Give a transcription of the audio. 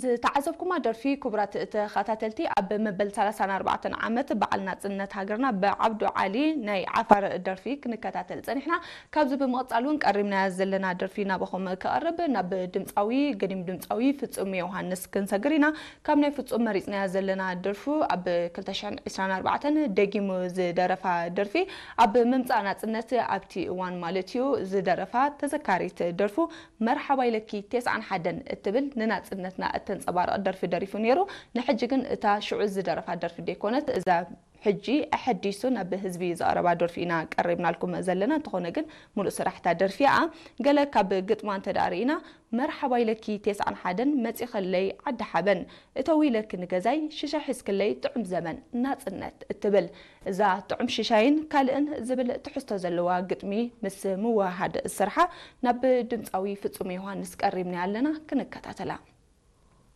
ዝተዓዘብኩማ ደርፊ ክቡራት ተኸታተልቲ፣ ኣብ መበል ሰላሳን ኣርባዕተን ዓመት በዓል ናጽነት ሃገርና ብዓብዱ ዓሊ ናይ ዓፋር ደርፊ ክንከታተል ጸኒሕና። ካብዚ ብምቕጻል እውን ቀሪብናያ ዘለና ደርፊ ናባኹም ክቐርብ ናብ ድምጻዊ፣ ገዲም ድምጻዊ ፍጹም ዮሃንስ ክንሰግር ኢና። ካብ ናይ ፍጹም መሪጽናያ ዘለና ደርፉ ኣብ ክልተ ሽሕን ዕስራን ኣርባዕተን ደጊሙ ዝደረፋ ደርፊ፣ ኣብ ምምጻእ ናጽነት ኣብቲ እዋን ማለት እዩ ዝደረፋ ተዘካሪት ደርፉ መርሓባ ኢለኪ ተስዓን ሓደን እትብል ንናጽነትና እተንጸባርቕ ደርፊ ደሪፉ ነይሩ። ንሕጂ ግን እታ ሽዑ ዝደረፋ ደርፊ ደይኮነት፣ እዛ ሕጂ ኣሐዲሱ ናብ ህዝቢ ዘቕረባ ደርፊ ኢና ቀሪብናልኩም ዘለና። እንተኾነ ግን ሙሉእ ስራሕታ ደርፊ እያ። ገለ ካብ ግጥማ እንተ ደኣ ርኢና፣ መርሓባ ኢለኪ ተስዓን ሓደን መጺኸለይ ዓዲ ሓበን፣ እተዊ ኢለኪ ንገዛይ ሽሻ ሒዝክለይ ጥዑም ዘመን ናጽነት እትብል፣ እዛ ጥዑም ሽሻይን ካልእን ዝብል ትሕዝቶ ዘለዋ ግጥሚ ምስ ምውህሃድ ስርሓ ናብ ድምጻዊ ፍጹም ዮሃንስ ቀሪብና ኣለና፣ ክንከታተላ።